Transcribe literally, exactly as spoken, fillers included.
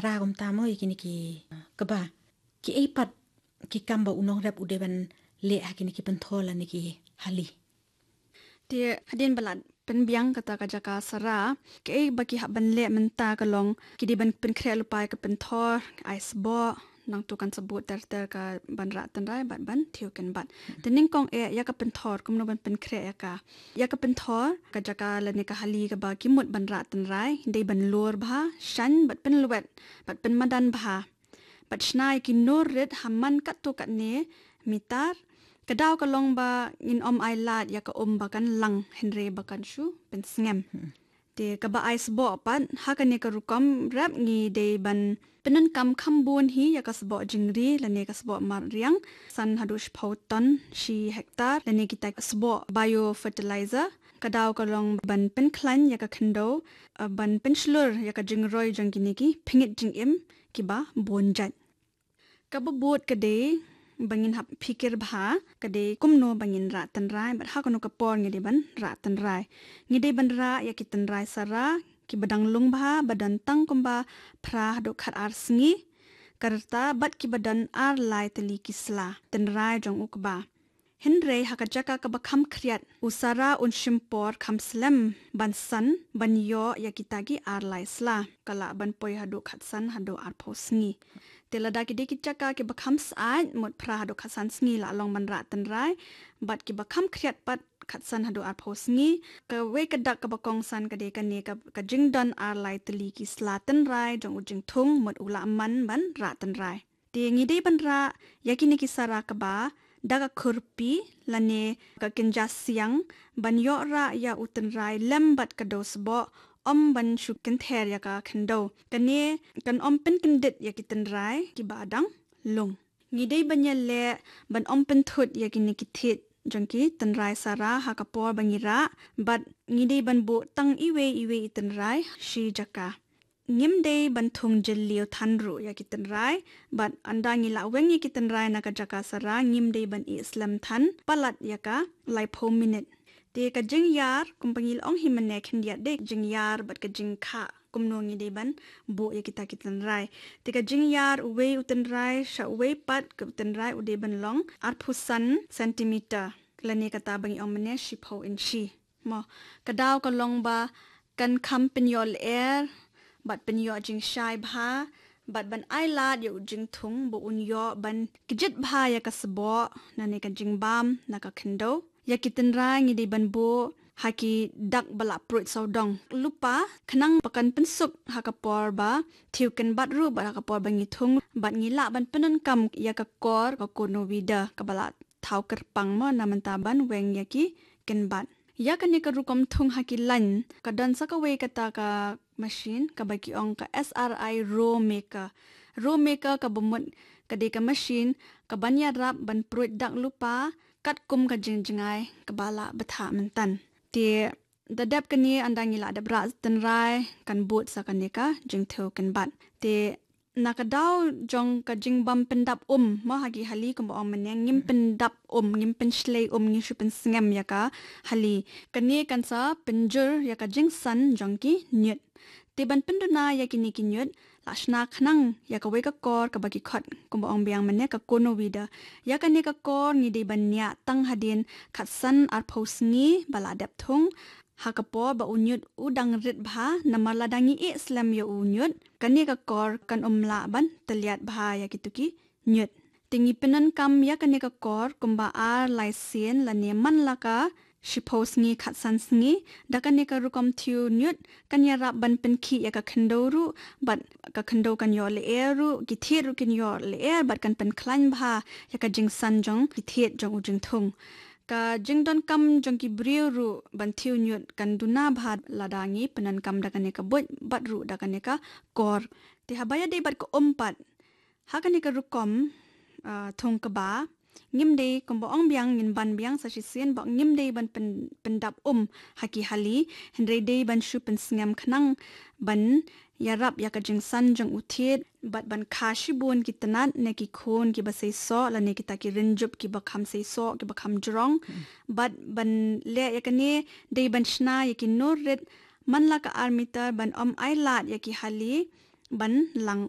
ra kumta mo ïa kine ki, kaba ki ei pat ki kam ba u nongrep u dei ban leh ha kine ki pynthor lane ki hali. Te hadien ba la pynbiang kata ka jaka sara, ki ei ba ki hap ban leh mynta ka long ki dei ban pynkhreh lypa ïa ka pynthor, ai sboh, nangtu kan sa bud ter ter ka ban rah tynrai bad ban thiew kynbat. Te nyngkong eh ïa ka pynthor kumno ban pynkhreh ïa ka. Ïa ka pynthor ka jaka lane ka hali kaba ki mut ban rah tynrai dei ban lur bha, shaiñ bad pynlwet bad pynmadan bha. Bad shna ïa ki nur rit ha man katto katne mitar. Ka daw ka long ba ngin ym ai lad ïa ka um ba kan lang hynrei ba kan shu pynsngem. Te kaba ai sboh pat, ha kane ka rukom rep ngi dei ban pyndonkam kham bun hi ïa ka sboh jingri lane ka sboh mariang, san haduh shiphew ton shi hektar, lane kita sboh biofertilizer. Ka daw ka long ban pynkhlaiñ ïa ka khyndew, eh, ban pynshlur ïa ka jingroi jong kine ki pyngngeit jingim kiba bun jait. Kaba bud ka dei ba ngin hap phikir bha ka dei kumno ba ngin rah tynrai bad ha kano ka por ngi dei ban rah tynrai. Ngi dei ban rah ïa ki tynrai sara kiba dang lung bha ba don tang kumba phra haduh khat ar sngi. Ka rta bad kiba don ar lai tylli ki sla tynrai jong u kba. Hynrei ha ka jaka kaba kham khriat, u sara un shim por kham slem ban san, ban ïoh ïa kita ki ar lai sla. Ka lah ban poi haduh khatsan haduh arphew sngi. Te lada ki dei ki jaka kiba kham syaid, mut phra haduh khatsan sngi la long ban rah tynrai, bad kiba kham khriat pat khatsan haduh arphew sngi. Kawei ka dak kaba kongsan ka dei kane ka, ka jingdon ar lai tylli ki sla tynrai jong u jingthung, mut u lah man ban rah tynrai. Te ngi dei ban rah ïa kine ki sara kba da ka khurpi lane ka kynja siang ban ïoh rah ïa u tynrai lem bad ka dew sboh, ym ban shu kynther ïa ka khyndew. Kane kan ym pynkyndit ïa ki tynrai kiba dang lung. Ngi dei ban ïaleh ban ym pynthut ïa kine ki thied jong ki tynrai sara ha ka por ba ngi rah, bad ngi dei ban buh tang iwei iwei i tynrai shi jaka. Ngim dei ban thung jylliew than ruh ïa ki tynrai, bad ynda ngi la weng ïa ki tynrai na ka jaka sara, ngim dei ban ïeh slem than palat ïa ka laiphew minit. Te ka jingïar, kumba ngi la ong hi mynne khyndiat, dei jingïar bad ka jingkhah kumno ngi dei ban buh ïa kita ki tynrai. Te ka jingïar uwei u tynrai sha uwei pat ka u tynrai u dei ban long arphew san centimeter, lane kata ba ngi ong mynne shiphew inshi. Mo, ka daw ka long ba kan kham pynïoh lyer bad pynïoh jingshai bha, bad ban ai lad ïa u jingthung ba un ïoh ban kjit bha ïa ka sboh lane ka jingbam na ka khyndew. Ïa ki tynrai ngi dei ban buh ha ki dak ba la pruid sawdong lypa, khnang ba kan pynsuk ha ka por ba thiew kynbat ruh bad ha ka por ba ngi thung, bad ngi lah ban pyndonkam ïa ka kor ka conowida kaba la thaw kyrpang mo na mynta ban weng ïa ki kynbat. Ïa kane ka rukom thung ha ki lain ka don sa kawei kata ka machine kaba ki ong ka S R I row maker. Row maker kaba mut ka dei ka machine kaban ïarap ban pruid dak lypa katkum ka jingjngai kaba la bthah mynta. Te da dep kane, ynda ngi la dep rah tynrai, kan bud sa kane ka jingthiew kynbat. Te na ka daw jong ka jingbym pyndap um mo ha ki hali, kumba ong mynne, ngim pyndap um, ngim pynshlei um, ngim shu pynsngem ïa ka hali. Kane kan sa pynjur ïa ka jingsan jong ki ñiut. Te ban pynduna ïa kine ki ñiut, la shna khnang ïa kawei ka kor kaba ki khot, kumba ong biang mynne, ka conowida. Ïa kane ka kor ngi dei ban ñiah tang hadien khatsan arphew sngi ba la dep thung, ha ka por ba u ñiut u dang rit bha, namar lada ngi ïeh slem ïa u ñiut, kane ka kor kan ym lah ban tylliat bha ïa kito ki ñiut. Te ngi pyndonkam ïa kane ka kor kumba ar lai sien lane man la ka shiphew sngi khatsan sngi. Da kane ka rukom thiew ñiut kan ïarap ban pynkhih ïa ka khyndew ruh, bad ka khyndew kan ïoh lyer ruh, ki thied ruh kin ïoh lyer, bad kan pynkhlaiñ bha ïa ka jingsan jong ki thied jong u jingthung. Ka jingdonkam jong ki briew ruh ban thiew ñiut kan duna bha lada ngi pyndonkam da kane ka buit bad ruh da kane ka kor. Te haba ïadei bad ka um pat, ha kane ka rukom, ah, thung kba, ngim dei, kumba ong biang, ngin ban biang sa shisien ba ngim dei ban pyn-, pyndap um ha ki hali, hynrei dei ban shu pynsngem khnang ban ïarap ïa ka jingsan jong u thied, bad ban kha shibun ki tnat ne ki khun kiba seisoh lane kita ki rynjup kiba kham seisoh, kiba kham jrong. Hmm. Bad ban leh ïa kane dei ban shna ïa ki nur rit man la ka ar mitar, ban ym ai lad ïa ki hali, ban lang